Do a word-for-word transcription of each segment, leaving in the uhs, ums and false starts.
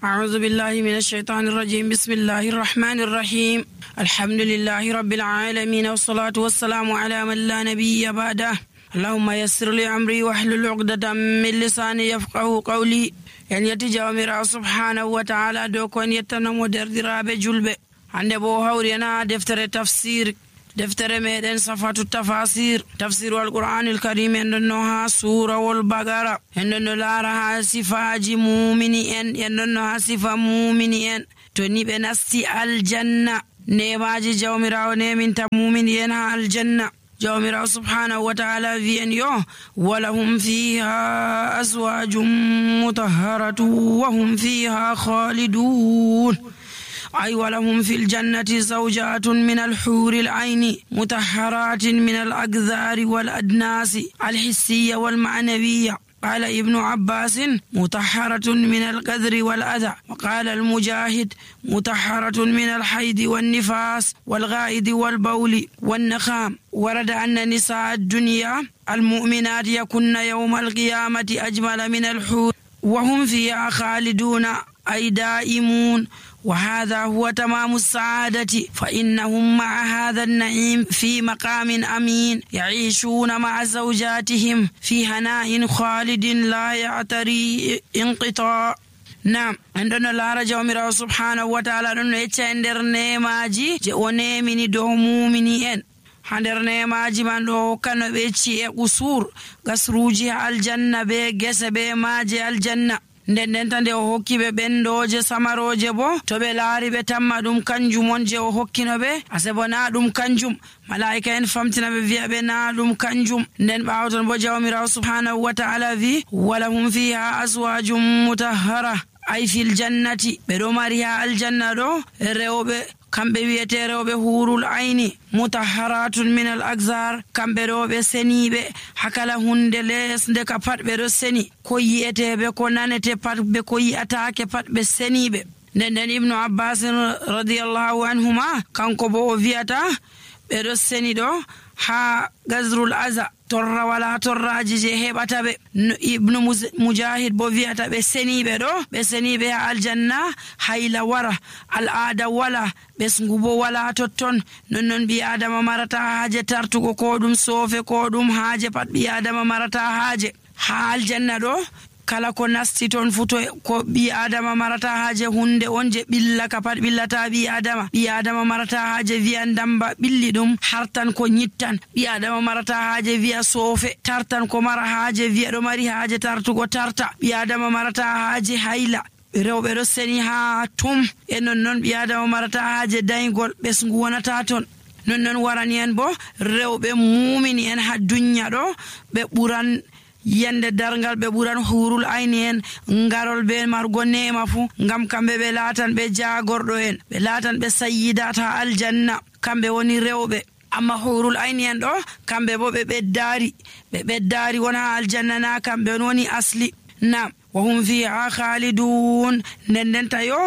أعوذ بالله من الشيطان الرجيم. بسم الله الرحمن الرحيم. الحمد لله رب العالمين، والصلاة والسلام على من لا نبي بعده. اللهم يسر لي أمري واحلل عقدة من لساني يفقه قولي. en yetti jawmirawo subhanahu wa ta'ala dow ko en yettanamo derdiraaɓe julɓe. hande bo hawri ena deftere tafsir, deftere meɗen safatu tafasir, tafsiru alqur'anil karim. en ɗonno ha surawol bagara, en ɗonno laara ha sifaji mumini en, en ɗonno ha sifa mumini en to ni ɓe nasti aljanna. nemaji jawmirawo neminta mumini en ha aljanna. jawmirawo subhanahu wa ta'ala wi en yo walahum fiha azwajum mutahharatu wa hum fiha khalidun. أي ولهم في الجنة زوجات من الحور العين مطهرات من الأقذار والأدناس الحسية والمعنوية. قال ابن عباس مطهرة من القذر والأذى. وقال المجاهد مطهرة من الحيض والنفاس والغائد والبول والنخام. ورد أن نساء الدنيا المؤمنات يكن يوم القيامة أجمل من الحور وهم فيها خالدون أي دائمون. وهذا هو تمام السعادة، فإنهم مع هذا النعيم في مقام أمين يعيشون مع زوجاتهم في هناء خالد لا يعتري انقطاع. نعم عندنا الله جوميرو سبحانه وتعالى ɗon yecca nder nemaji je o nemini dow mumini en. ha nder nemaji man ɗo hokkano ɓe ci'e qusur, gasruji aljanna be gese be maje aljanna. nden nden tan nde o hokki ɓe ɓendoje samaroje bo to ɓe laari ɓe tamma ɗum kanjum on je o hokkino ɓe, ase bo na ɗum kanjum. malaika en famtina ɓe wi'a ɓe na ɗum kanjum. nden ɓawton bo jawmirawo subhanahu wa ta'ala wi walahum fiha azwajum mutahhara ay fil jannati. ɓe ɗo mari ha aljanna ɗo rewɓe kamɓe wiyete rewɓe hurul ayni mutahharatun min al axar. kamɓe ɗo ɓe seniɓe hakala hunde lesde ka pat ɓe ɗo seni, ko yi'eteɓe ko nanete pat ɓe ko yi'atake pat ɓe seniɓe. nden nden ibnu abbas radiyallahu anhuma kanko bo o wiyata ɓe ɗo seni ɗo ha gazrul aza, torra wala torraji je heɓata ɓe. ibnu mujahid bo wiyata ɓe seniɓe ɗo ɓe seniɓe ha aljanna hayla wara, al'ada wala, ɓesngu bo wala totton. nonnon ɓi adama marata haaje tartugo ko ɗum soofe ko ɗum haaje pat ɓi adama marata haaje. ha aljanna ɗo kala ko nasti ton fu to ko ɓi adama marata haaje hunde on je ɓilla ka pat ɓillata ɓi adama. ɓi adama marata haaje wiya ndamba ɓilli ɗum hartan ko nyittan. ɓi adama marata haaje wiya soofe tartan ko mara haaje wiya ɗo mari haaje tartugo tarta. ɓi adama marata haaje hayla, rewɓe ɗo seni ha tum. e nonnon ɓi adama marata haaje daygol, ɓesngu wonata ton. nonnon warani en bo rewɓe mumini en ha dunya ɗo ɓe ɓuran yande dargal, ɓe ɓuran hurul ayni en ngarol be margo nema fu, ngam kamɓe ɓe laatan ɓe jagorɗo en, ɓe laatan ɓe sayyidat ha aljanna. kamɓe woni rewɓe. amma hurul ayni en ɗo kamɓe bo ɓe ɓeddari ɓe ɓeddari won ha aljanna, na kamɓe woni asli. nam wa hum fiha khalidun. nden nden tayo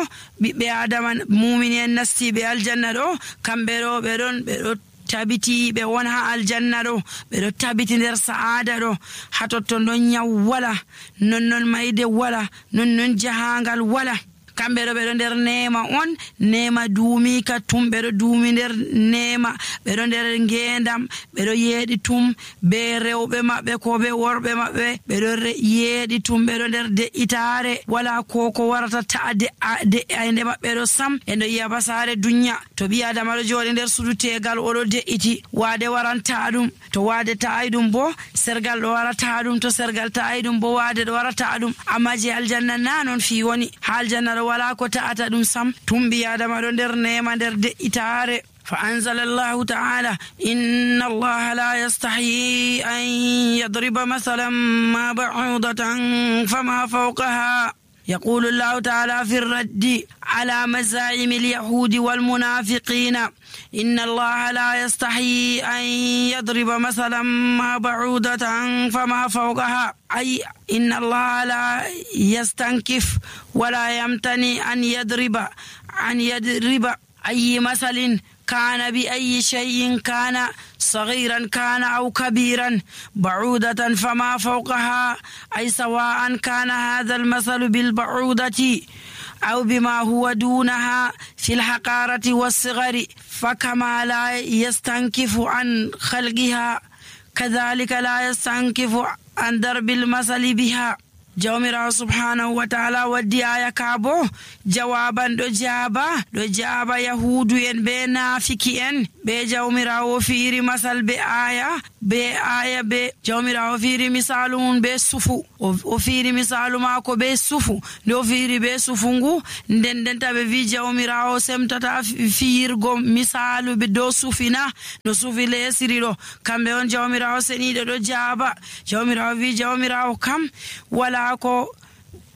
ɓiɓɓe adama mumini en nastiɓe aljanna ɗo kamɓe ɗo ɓe ɗon ɓe ɗo tabiti ɓe won ha aljanna ɗo, ɓe ɗo tabiti nder sa'ada ɗo. ha totton ɗon nyaw wala, nonnon mayde wala, nonnon jahangal wala. kamɓe ɗo ɓe ɗo nder nema on, nema duumi ka tum. ɓe ɗo duumi nder nema, ɓe ɗo nder ngendam, ɓe ɗo yeeɗi tum be rewɓe maɓɓe ko be worɓe maɓɓe, ɓe ɗo yeeɗi tum, ɓe ɗo nder de'itare. wala ko ko warata ta'a de'ayde maɓɓe ɗo sam. en ɗo yiya basare dunya to ɓi adama ɗo jooɗi nder sudu tegal oɗo de'iti, waade waranta ɗum, to waade ta'ay ɗum bo sergal ɗo warata ɗum, to sergal ta'ay ɗum bo waade ɗo warata ɗum. amma je aljanna na non fi woni. ha aljanna ɗo wala ko ta'ata ɗum sam. tumbi adama ɗo nder nema nder de'itare. فأنزل الله تعالى إن الله لا يستحيي أن يضرب مثلا ما بعوضة فما فوقها. يقول الله تعالى في الرد على مزاعم اليهود والمنافقين إن الله لا يستحيي أن يضرب مثلا ما بعوضة فما فوقها، أي إن الله لا يستنكف ولا يمتني أن يضرب أن يضرب أي مثل كان بأي شيء كان صغيرا كان أو كبيرا بعودة فما فوقها، أي سواء كان هذا المثل بالبعودة أو بما هو دونها في الحقارة والصغر، فكما لا يستنكف عن خلقها كذلك لا يستنكف عن ضرب المثل بها. jawmirawo subhanahu wa ta'ala waddi aya ka bo jawaban ɗo jaba ɗo jaba yahudu en be nafiki en be jawmirawo fiiri masal be aya be aya be jawmirawo fiiri misalu mum be sufu o fiiri misalu mako be sufu nde o fiiri be sufu ngu nden nden taɓe wi jawmirawo semtata fiirgo misalu be dow sufina no sufi lesiri ɗo kamɓe on jawmirawo seniɗo ɗo jaba jawmirawo wi jawmirawo kam wala ko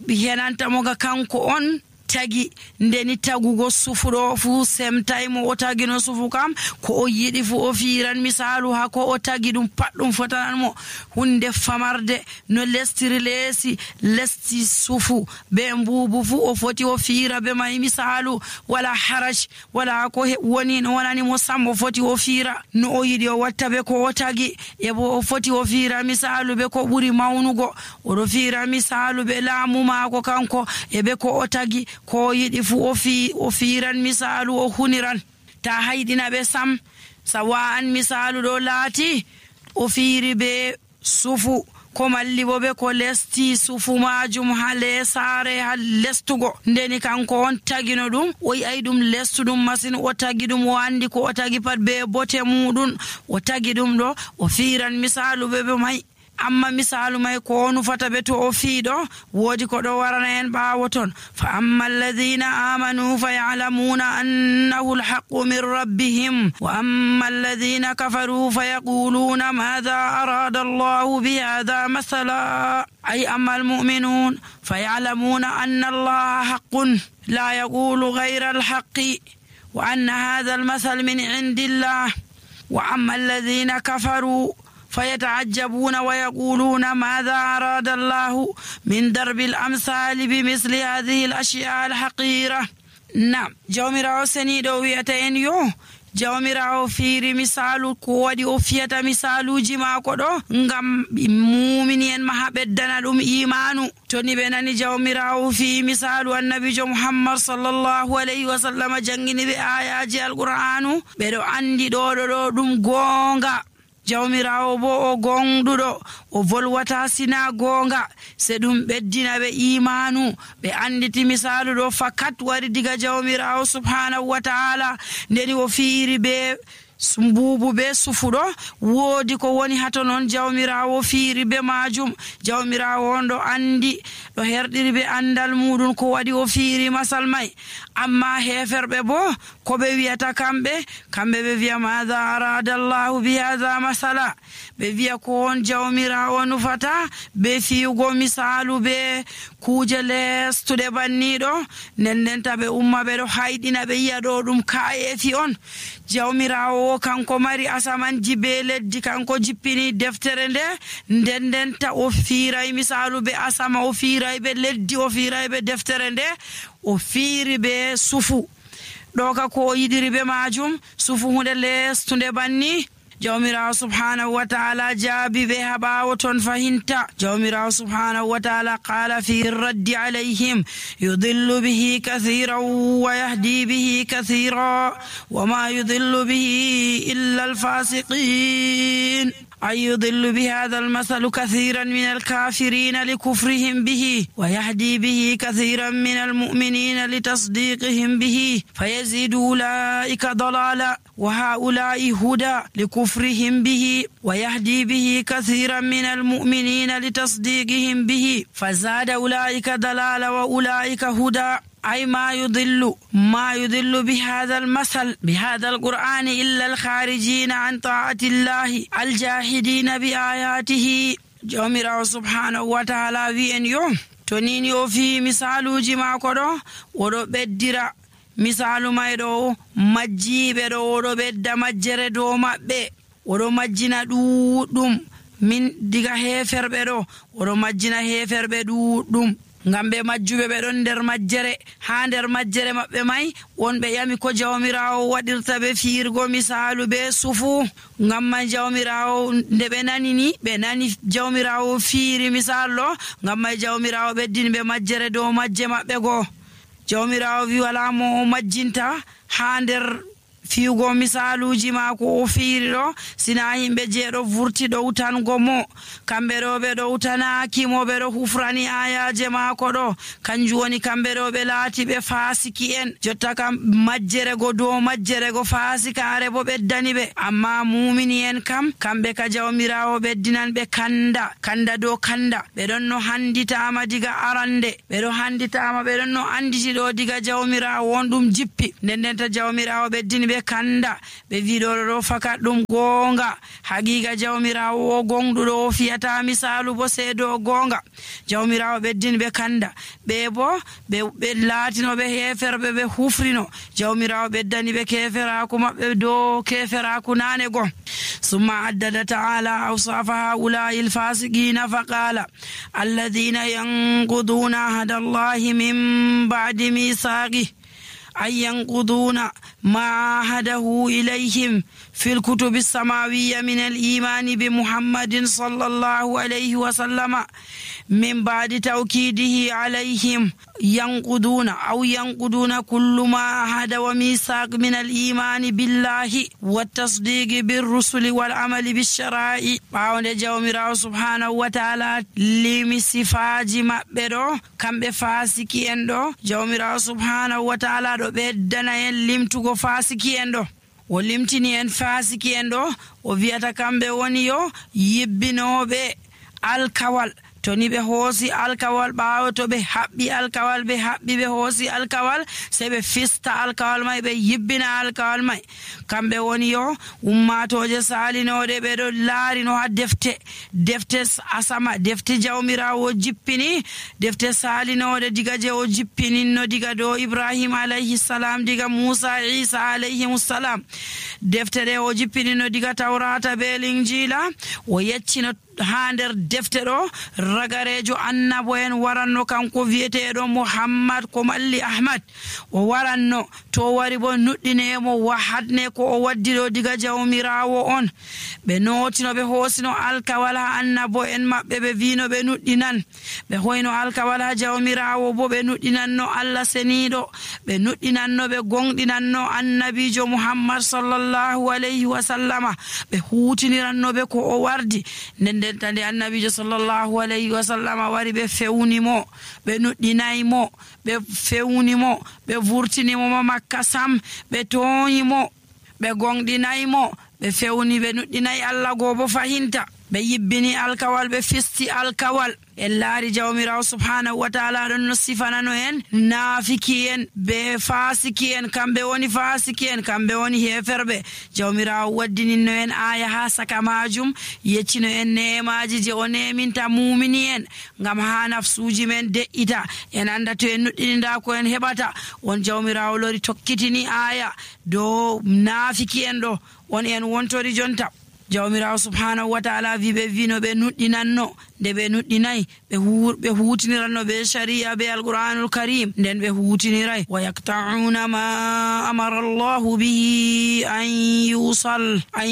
henanta moga kanko on tagi ndeni tagugo sufuɗo fu semtaymo o tagi no sufu kam ko o yiɗi fu o fiiran misalu ha ko o tagi ɗum pat ɗum fotananmo hunde famarde no lestiri leesi lesti sufu be mbubu fu o foti o fiira be may misalu wala haraj wala ko woni no wonani mo sam o foti o fiira no o yiɗi o watta be ko o tagi e bo o foti o fiira misalu be ko ɓuri mawnugo oɗo fiira misalu be laamu maako kanko e be ko o tagi ko yiɗi fu o fi o fiiran misalu o huniran ta hayɗina ɓe sam sawa an misalu ɗo laati o fiiri be sufu ko malli bo be ko lesti sufu majum ha lesare ha lestugo ndeni kanko on tagino ɗum o yi'ay ɗum lestuɗum masin o tagi ɗum o andi ko o tagi pat be bote muɗum o tagi ɗum ɗo o fiiran misalu be be may amma misalu may ko nufata be to o fiiɗo woodi ko ɗo warana en ɓaawo ton fa amma alladhina amanu fa ya'lamuna annahu alhaqqu min rabbihim wa amma alladhina kafaru fa yaquluna madha arada allahu bi hadha mathala ay amma almu'minun fa ya'lamuna anna allaha haqqun la yaqulu ghayra alhaqqi wa anna hadha almathal min indillah wa amma alladhina kafaru فيتعجبون ويقولون ماذا أراد الله من ضرب الأمثال بمثل هذه الأشياء الحقيرة. نعم jawmirawo seniɗo wiyata en yo jawmirawo fiiri misalu ko waɗi o fiyata misaluji maako ɗo ngam mumini en maha ɓeddana ɗum imanu to ni ɓe nani jawmirawo fi misalu annabijo muhammad sallallahu alayhi wa sallam jangini ɓe ayaji alqur'anu ɓeɗo andi ɗo ɗo ɗo ɗum goonga jawmirawo bo o gonɗuɗo o volwata sina gonga se ɗum ɓeddina ɓe imanu ɓe anditi misalu ɗo fakat wari diga jawmirawo subhanahu wa ta'ala ndeni o fiiri be mbubu be sufuɗo woodi ko woni hato noon jawmirawo fiiri be majum jawmirawo on ɗo andi ɗo herɗiri be andal muɗum ko waɗi o fiiri masal may amma heferɓe bo ko ɓe wiyata kamɓe kamɓe ɓe wiya madha arada allahu bi hadha masala ɓe wiya ko on jawmirawo nufata be fiyugo misalu be kuje lestuɗe banniɗo nden nden ta ɓe umma ɓe ɗo hayɗina ɓe yiya ɗo ɗum kayefi on jawmirawo kanko mari asamanji be leddi kanko jippini deftere nde nden nden ta o fiiray misalu be asama o fiiray be leddi o fiiray be deftere nde o fiiri be sufu ɗo ka ko o yiɗiri be majum sufu hunde lestunde banni jawmirawo subhanahu wa ta'ala jaabi ɓe ha ɓawo ton fahinta jawmirawo subhanahu wa ta'ala qala fi raddi alayhim yudillu bihi kathiran wa yahdi bihi kathira wa ma yudillu bihi illa alfasiqin أي يضل بهذا المثل كثيرا من الكافرين لكفرهم به ويهدي به كثيرا من المؤمنين لتصديقهم به فيزيد أولئك ضلالا وهؤلاء هدى لكفرهم به ويهدي به كثيرا من المؤمنين لتصديقهم به فزاد أولئك ضلالا وأولئك هدى أي ما يضل ما يضل بهذا المثل بهذا القرآن إلا الخارجين عن طاعة الله الجاحدين بآياته جميرا سبحانه وتعالى وين يوم تنيني وفي مثال جماع كرو ورو بدرا مثال ما يدو مجيب يدو ورو بد مجر دو مبه ورو مجنا دو دوم من ديغا هيفر بدو ورو مجنا هيفر بدو دوم ngam ɓe majjube ɓe ɗon nder majjere ha nder majjere maɓɓe may wonɓe yami ko jawmirawo waɗirta ɓe fiirgo misalu be sufu ngam man jawmirawo nde ɓe nani ni ɓe nani jawmirawo fiiri misal ɗo ngam may jawmirawo ɓeddini ɓe majjere dow majje maɓɓe goo jawmirawo wi wala mo o majjinta ha nder fiugo misaluji mako o fiiri ɗo sina yimɓe jeeɗo vurti ɗowtango mo kamɓe ɗo ɓe ɗowtanaki mo ɓe ɗo hufrani ayaje mako ɗo kanjum woni kamɓe ɗo ɓe laati ɓe fasiki en jotta kam majjere go dow majjere go fasikare bo ɓeddani ɓe amma mumini en kam kamɓe ka jawmirawo ɓeddinan ɓe kanda kanda dow kanda ɓe ɗon no handitama diga arande ɓe ɗo handitama ɓe ɗon no anditi ɗo diga jawmirawo on ɗum jippi nden ndenta jawmirawo ɓeddini ɓe kanda ɓe wiɗo ɗo fakat ɗum gonga haqiqa jawmirawo o gonɗuɗo o fiyata misalu bo seedo gonga jawmirawo ɓeddini ɓe kanda ɓe bo ɓe laatino ɓe heferɓe ɓe hufrino jawmirawo ɓeddani ɓe keferaku maɓɓe dow keferaku nane gon summa addada ta'ala awsafa haula'i alfasiqina faqala alladhina yanquduna ahda allahi min ba'di misaqih أن ينقضون ما عاهده إليهم في الكتب السماوية من الإيمان بمحمد صلى الله عليه وسلم من بعد توكيده عليهم ينقضون أو ينقضون كل ما عهد وميثاق من الإيمان بالله والتصديق بالرسل والعمل بالشرائع باون جawmirawo subhanahu wa ta'ala limi sifaji maɓɓe ɗo kamɓe fasiki en ɗo jawmirawo subhanahu wa ta'ala ɗo ɓeddana en limtugo fasiki en ɗo o limtini en fasiki en ɗo o wiyata kamɓe woni yo yibbinoɓe alkawal to ni ɓe hoosi alkawal ɓaawo to ɓe haɓɓi alkawal ɓe haɓɓi ɓe hoosi alkawal sey ɓe fista alkawal may ɓe yibbina alkawal may kamɓe woni yo ummatoje salinoɗe ɓe ɗo laarino ha defte defte asama defte jawmirawo jippini defte salinoɗe diga je o jippininno diga dow ibrahima alayhi salam diga musa isa alayhimussalam defte ɗe o jippininno diga tawrata be linjila o yeccino ha nder defte ɗo ragarejo annabo en waranno kanko wiyeteɗo muhammad ko malli ahmad o waranno to wari bo nuɗɗinemo wahadne ko o waddi ɗo diga jawmirawo on ɓe notino ɓe hoosino alkawal ha annabo en maɓɓe ɓe wino ɓe nuɗɗinan ɓe hoyno alkawal ha jawmirawo bo ɓe nuɗɗinanno allah seniɗo ɓe nuɗɗinanno ɓe gonɗinanno annabijo muhammad sallallahu alayhi wa sallama ɓe hutinirannoɓe ko o wardi nden nden tande annabijo sallallahu alayhi wa sallama wari ɓe fewnimo ɓe nuɗɗinaymo ɓe fewnimo ɓe vurtinimo ma makka sam ɓe toyimo ɓe gonɗinaymo ɓe fewni ɓe nuɗɗinayi allah goo bo fahinta ɓe yibbini alkawal ɓe fisti alkawal en laari jawmirawo subhanahu wa ta'ala ɗon no sifanano en naafiki en be fasiki en kamɓe woni fasiki en kamɓe woni heferɓe jawmirawo waddininno en aya ha saka majum yeccino en nemaji je o neminta mumini en ngam ha nafsuji men de'ita en anda to en nuɗɗininda ko en heɓata on jawmirawo lori tokkitini aya dow naafiki en ɗo on en wontori jonta jawmirawo subhanahu wa ta'ala wi ɓe wino ɓe nuɗɗinanno nde ɓe nuɗɗinayi ɓe hutiniranno ɓe sharia ɓe alquranul karim nden ɓe hutiniray wa yaqta'una ma amara allahu bihi an yusal an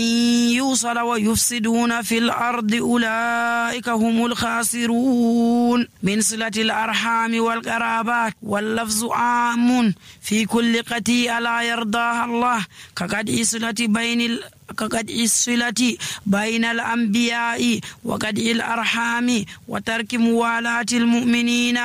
yusala wa yufsiduna fil ardi ulaika humul khasirun min silati al arhami wal qarabat wal lafzu amun fi kulli qati'a la yardaha allah kaqad islati bainil كقد الصلة بين الأنبياء وقد الأرحام وترك موالاة المؤمنين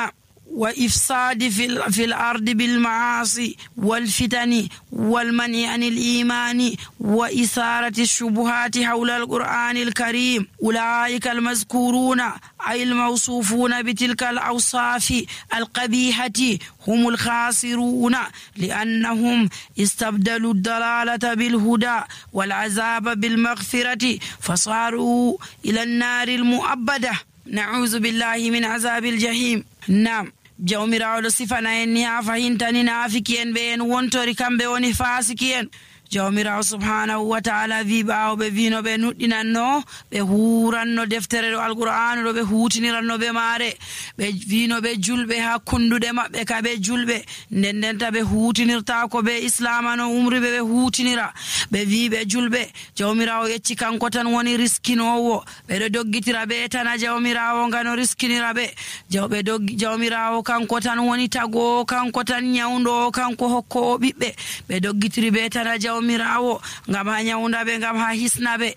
وإفساد في, في الأرض بالمعاصي والفتن والمنع عن الإيمان وإثارة الشبهات حول القرآن الكريم أولئك المذكورون أي الموصوفون بتلك الأوصاف القبيحة هم الخاسرون لأنهم استبدلوا الضلالة بالهدى والعذاب بالمغفرة فصاروا إلى النار المؤبدة نعوذ بالله من عذاب الجحيم. نعم jawmirawo ɗo sifana en ni ha fahintani naafiki en ɓe en wontori kamɓe woni fasiki en jawmirawo subhanahu wa ta'ala wi ɓaawo ɓe wino ɓe nuɗɗinanno ɓe huranno deftere ɗo alqur'anu ɗo ɓe hutiniranno ɓe maare ɓe wino ɓe julɓe ha kunduɗe maɓɓe ka ɓe julɓe nden ndenta ɓe hutinirtako ɓe islama no umriɓe ɓe hutinira ɓe wi ɓe julɓe jawmirawo yecci kanko tan woni riskinowo ɓeɗo doggitira ɓe tana jawmirawo ngano riskinira ɓe jawɓe doggi jawmirawo kanko tan woni tago kanko tan nyawdo kanko hokko ɓiɓɓe ɓe doggitiri ɓe tana jawmirawo ngam ha nyawda ɓe ngam ha hisna ɓe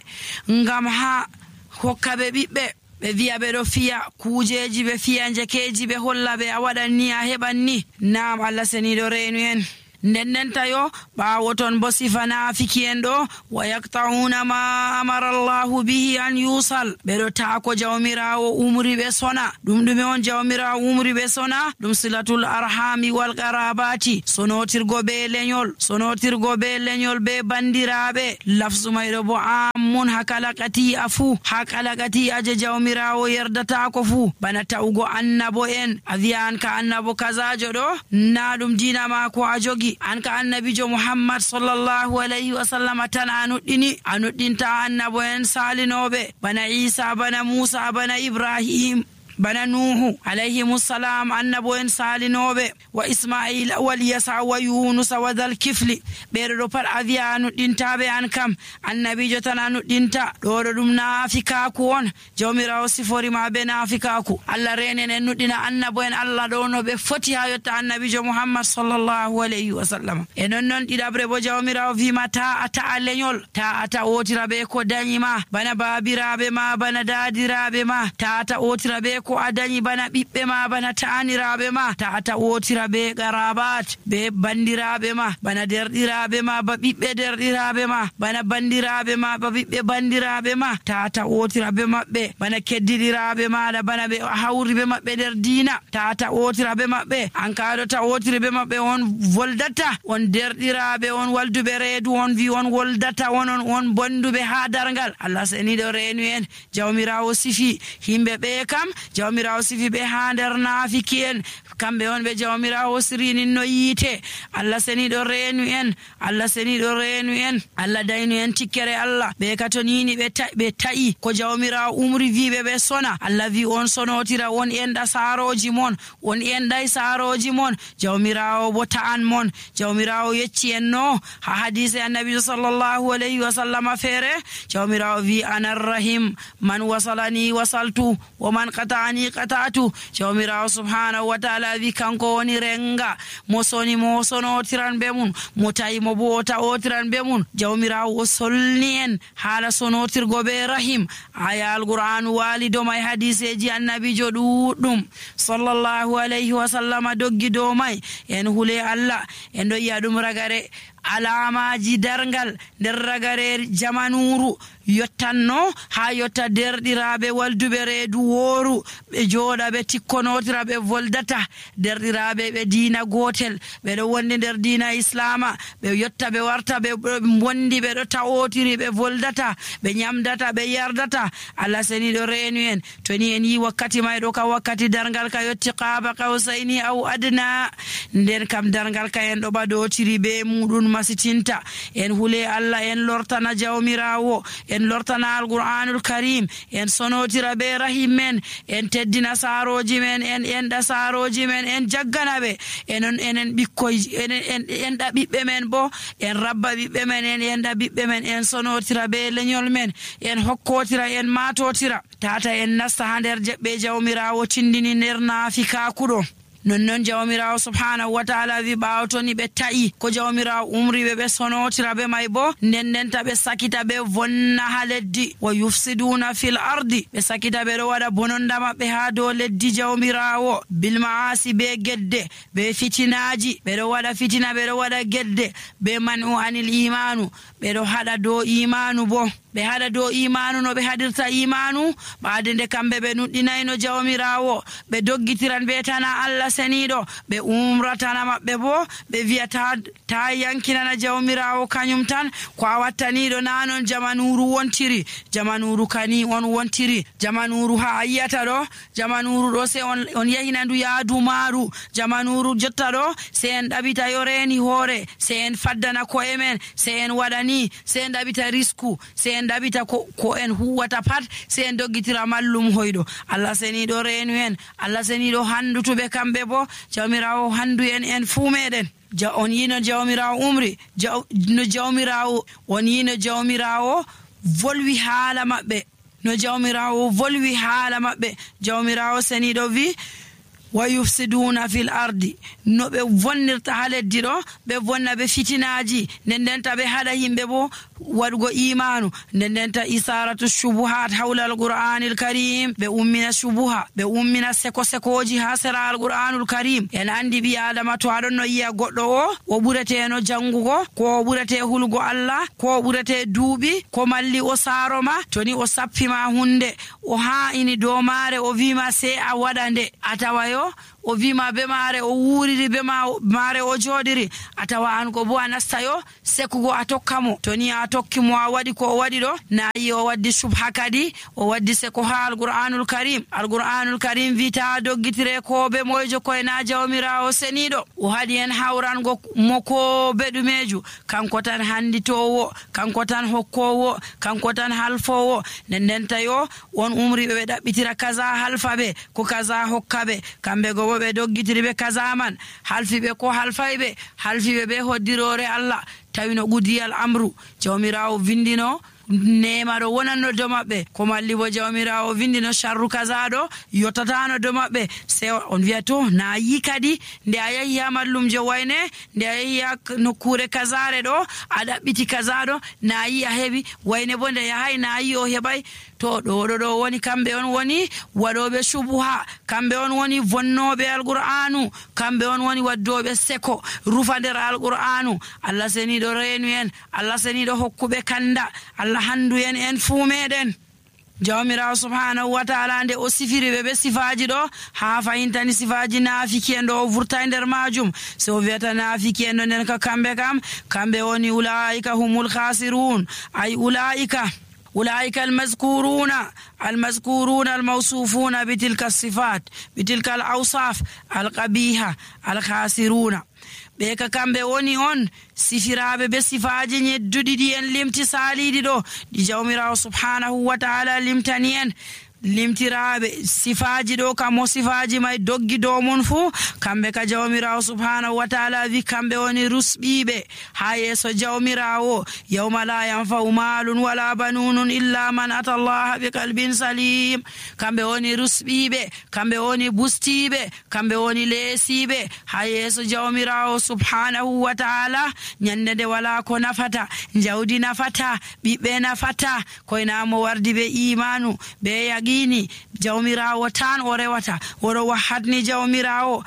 ngam ha hokka ɓe ɓiɓɓe ɓe wiya ɓe ɗo fiya kujeji ɓe fiya jekeji ɓe holla ɓe a waɗan ni a heɓan ni naam Allah seniɗo reenu en nden ndenta yo ɓaawo ton bo sifa naafiki en ɗo wa yaqta'una ma amara Allahu bihi an yusal ɓeɗo taako jawmirawo umri ɓe sona ɗum ɗume on jawmirawo umri ɓe sona ɗum silatul arhami wal qarabati sonotirgo be lenyol sonotirgo be lenyol be bandiraɓe lafzu mayɗo bo ammun hakalakati a fuu hakalakati aje jawmirawo yerdatako fuu bana tawugo annabo en a wiya an ka annabo kazajo ɗo na ɗum dina mako a jogi an ka annabijo Muhammad sallallahu alayhi wa sallam tan a nuɗɗini a nuɗɗinta annabo en salinoɓe bana Isa bana Musa bana Ibrahim bana Nuhu alayhimussalam annabo en salinoɓe wa Ismail wal Yasa wa Yunus wa dhal kifli ɓeɗo ɗo pat a wiya a nuɗɗintaɓe an kam annabijo tan a nuɗɗinta ɗo ɗo ɗum naafikaku on jawmirawo siforima be naafikaku Allah renen en nuɗɗina annabo en Allah ɗo no ɓe foti ha yotta annabijo Muhammad sallallahu alayhi wa sallam e non noon ɗiɗaɓre bo jawmirawo wima ta a ta'a lenyol ta a ta otira ɓe ko dañima bana babiraɓe ma bana dadiraɓe ma ta ta otira ɓe ko a dañi bana ɓiɓɓe ma bana ta'aniraɓe ma ta ta wotira be garabat be bandiraɓe ma bana derɗiraɓe ma ba ɓiɓɓe derɗiraɓe ma bana bandiraɓe ma ba ɓiɓɓe bandiraɓe ma ta ta wotira be maɓɓe bana keddiɗiraɓe maɗa bana ɓe hawri be maɓɓe nder diina ta ta wotira be maɓɓe an kaɗo ta wotiri be maɓɓe on voldata on derɗiraɓe on walduɓe reedu on wi on woldata on on on bonduɓe ha dargal Allah seniɗo reenu en jawmirawo sifi himɓe ɓe kam jawmirawo sifi ɓe ha nder naafiki en kamɓe on ɓe jawmirawo sirinin no yiite Allah seniɗo reenu en Allah seniɗo reenu en Allah daynu en tikkere Allah ɓe katonini ɓe ɓe ta'i ko jawmirawo umri wiɓe ɓe sona Allah wi on sonotira on enɗa saroji mon on enɗay saroji mon jawmirawo bo ta'an mon jawmirawo yecci en no ha hadise annabijo sallallahu alayhi wa sallam feere jawmirawo wi anarrahim man wasalani wasaltu wa man qata'ani qata'tu jawmirawo subhanahu wa ta'ala wi kanko woni renga mo soni mo sonotiran be mun mo tawi mo bo ta'otiran be mun jawmirawo o solni en haala sonotirgo be rahim aya alqur'anu walido may hadiseji annabijo ɗuɗɗum sallallahu alayhi wa sallam doggi dow may en hule Allah en ɗo yiya ɗum ragare alamaji dargal nder ragare jamanuru yottanno ha yotta derɗiraɓe walduɓe reedu wooru ɓe jooɗa ɓe tikkonotira ɓe voldata derɗiraɓe ɓe diina gotel ɓeɗo wondi nder diina islama ɓe yotta ɓe warta ɓe bondi ɓeɗo ta'otiri ɓe voldata ɓe nyamdata ɓe yardata Allah seniɗo reenu en toni en yi wakkati mayɗo ka wakkati dargal ka yotti qaaba qawsayni aw adna nden kam dargal ka en ɗo ɓaɗotiri be muɗum masitinta en hule Allah en lortana jawmirawo en lortana alqur'anul karim en sonotira be rahim men en teddina saroji men en enɗa saroji men en jaggana ɓe enon enen ɓikkoy en enɗa ɓiɓɓe men bo en rabba ɓiɓɓe men en enɗa ɓiɓɓe men en sonotira be leñol men en hokkotira en matotira tata en nasta ha nder jeɓɓe jawmirawo tindini nder naafikakuɗo nonnon jawmirawo subhanahu wa ta'ala wi ɓaawo toni ɓe ta'i ko jawmirawo umriɓe ɓe sonotira be may bo nden ndenta ɓe sakita ɓe vonna ha leddi wa yufsiduna fil ardi ɓe sakita ɓe ɗo waɗa bononda maɓɓe ha dow leddi jawmirawo bil ma'asi be gedde be fitinaji ɓe ɗo waɗa fitina ɓe ɗo waɗa gedde be man'u anil imanu ɓe ɗo haɗa dow imanu bo ɓe haɗa dow imanu no ɓe haɗirta imanu ɓaade nde kamɓe ɓe nuɗɗinayno jawmirawo ɓe doggitiran ɓe tana Allah seniiɗo ɓe umratana maɓɓe bo ɓe wiyata ta yankinana jawmirawo kañum tan ko a wattaniɗo nanon jamanuru wontiri jamanuru kani on wontiri jamanuru ha a yiyata ɗo jamanuru ɗo se on, on yahina ndu yaadu maaru jamanuru jotta ɗo se en ɗaɓita yo reni hoore se en faddana ko'e men se en waɗani se en ɗaɓita risku se en ɗaɓita ko, ko en huwata pat se en doggitira mallum hoyɗo Allah seniɗo reenu en Allah seniɗo handutuɓe kamɓe bo jawmirawo handu en en fuu meɗen ja on yino jawmirawo umri jaw, no jawmirawo on yino jawmirawo volwi haala maɓɓe no jawmirawo volwi haala maɓɓe jawmirawo seniɗo wi wa yufsiduna fil ardi no ɓe vonnirta ha leddi ɗo ɓe vonna ɓe fitinaji nden ndenta ɓe haɗa yimɓe bo waɗugo imanu nden ndenta isaratu shubuhat hawla alqur'anil karim ɓe ummina shubuha ɓe ummina seko sekoji ha sera alqur'anul karim en andi ɓi adama to aɗon no yiya goɗɗo o o ɓureteno jangugo ko o ɓurete hulgo Allah ko o ɓurete duuɓi ko malli o saaro ma to ni o sappima hunde o ha'ini dow maare o wima se a waɗa nde a tawayo o wima be maare o wuriri be maare o joɗiri a tawa an ko bo a nastayo sekugo a tokkamo to ni a tokkimo a waɗi ko o waɗi ɗo nayi o waddi subha kadi o waddi seko ha alqur'anul karim alqur'anul karim wita doggitire ko be moyjo koye na jawmirawo seniɗo o haɗi en hawrango mo ko be ɗumeju kanko tan handitowo kanko tan hokkowo kanko tan halfowo nden ndenta yo on umriɓe ɓe ɗaɓɓitira kaza halfaɓe ko kaza hokkaɓe kamɓe go ɓe doggitiri ɓe kaza man halfiɓe ko halfayɓe halfiɓe ɓe hoddirore Allah tawi no gudiyal amru jawmirawo vindino nema ɗo wonanno do maɓɓe ko malli bo jawmirawo vindino sharru kaza ɗo yottatano do maɓɓe se on wiya to na yi kadi nde a yahi ha mallumjo wayne nde a yahi ha nokkure kazare ɗo a ɗaɓɓiti kaza ɗo na yi a heɓi wayne bo nde yahay na yi o heɓay to ɗo ɗo ɗo woni kamɓe on woni waɗoɓe subuha kamɓe on woni vonnoɓe alqur'anu kamɓe on woni waddoɓe seko rufa nder alqur'anu Allah seniɗo reenu en Allah seniɗo hokkuɓe kanda Allah handu en en fuu meɗen jawmirawo subhanahu wa ta'ala nde o sifiri ɓe ɓe sifaji ɗo ha fayintani sifaji naafiki en ɗo o vurta nder majum so wiyata naafiki en ɗo nden ka kamɓe kam kamɓe woni ulaika humul khasirun ay ulaika أولئك المذكورون المذكورون الموصوفون بتلك الصفات بتلك الأوصاف القبيحة الخاسرون بك كم بوني on sifiraɓe be sifaji ñedduɗi ɗi en limti saliɗi ɗo ɗi jawmirawo subhanahu wa ta'ala limtani en limtiraɓe sifaji ɗo kam o sifaji may doggi dow mon fuu kamɓe ka jawmirawo subhanahu wa ta'ala wi kamɓe woni rusɓiɓe ha yeeso jawmirawo yawma la yanfa'u malun wala banunun illa man ata allaha bi qalbin salim kamɓe woni rusɓiɓe kamɓe woni bustiɓe kamɓe woni leesiɓe ha yeeso jawmirawo subhanahu wa ta'ala ñande nde wala ko nafata jawdi nafata ɓiɓɓe nafata koynamo wardi be imanu be yaqi ni jawmirawo tan o rewata oɗo wahatni jawmirawo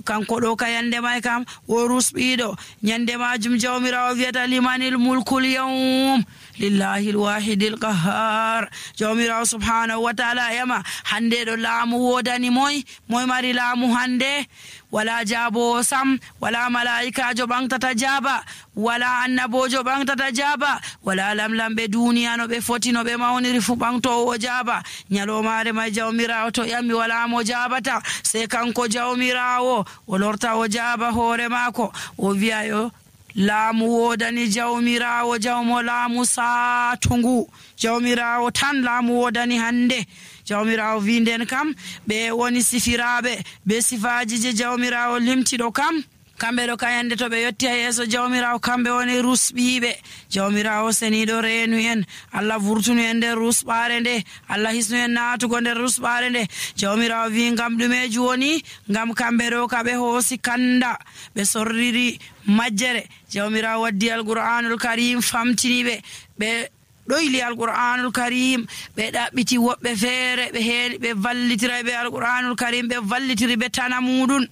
kanko ɗo ka yande may kam o rusɓiɗo ñande majum jawmirawo wiyata limanil mulkul yawm lillahi alwahidi alqahar jawmirawo subhanahu wa ta'ala yama hande ɗo laamu wodani moy moy mari laamu hande wala jaabo sam wala malaikajo ɓantata jaaba wala annabojo ɓantata jaaba wala lamlamɓe duniya no ɓe foti no ɓe mawniri fu ɓantowo jaaba ñalomare may jawmirawo to ƴammi wala mo jaabata se kanko jawmirawo o lorta o jaaba hoore maako o wiya yo laamu wodani jawmirawo jawmo laamu satungu jawmirawo tan laamu wodani hande jawmirawo winden kam ɓe woni sifiraɓe be sifaji je jawmirawo limtiɗo kam kamɓe ɗo kayande to ɓe yetti ha yeeso jawmirawo kamɓe woni rusɓiɓe jawmirawo seniɗo reenu en Allah vurtunu en nder rusɓare nde Allah hisnu en natugo nder rusɓare nde jawmirawo wi ngam ɗumeji woni ngam kamɓe ɗo ka ɓe hoosi kanda ɓe sorriri majjere jawmirawo waddi alqur'anul karim famtiniɓe ɓe ɗoyli alqur'anul karim ɓe ɗaɓɓiti woɓɓe feere ɓe heeɗi ɓe vallitira ɓe alqur'anul karim ɓe vallitiri ɓe tana muɗum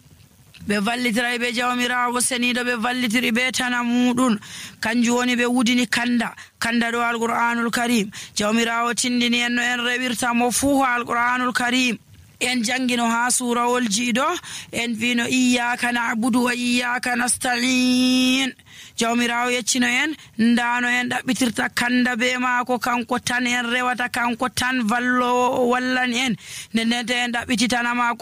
ɓe vallitiray ɓe jawmirawo seniɗo ɓe vallitiri ɓe tana muɗum kanjum woni ɓe wudini kanda kanda ɗo alqur'anul karim jawmirawo tindini en no en rewirta mo fuu alqur'anul karim en jangino ha surawol jiiɗo en vino iyyaka na'budu wa iyyaka nasta'in. Jawmirawo yeccino en ndano en ɗaɓɓitirta kanda be maako, kanko tan en rewata, kanko tan vallowo o wallan en. Nden nden en ɗaɓɓititana maako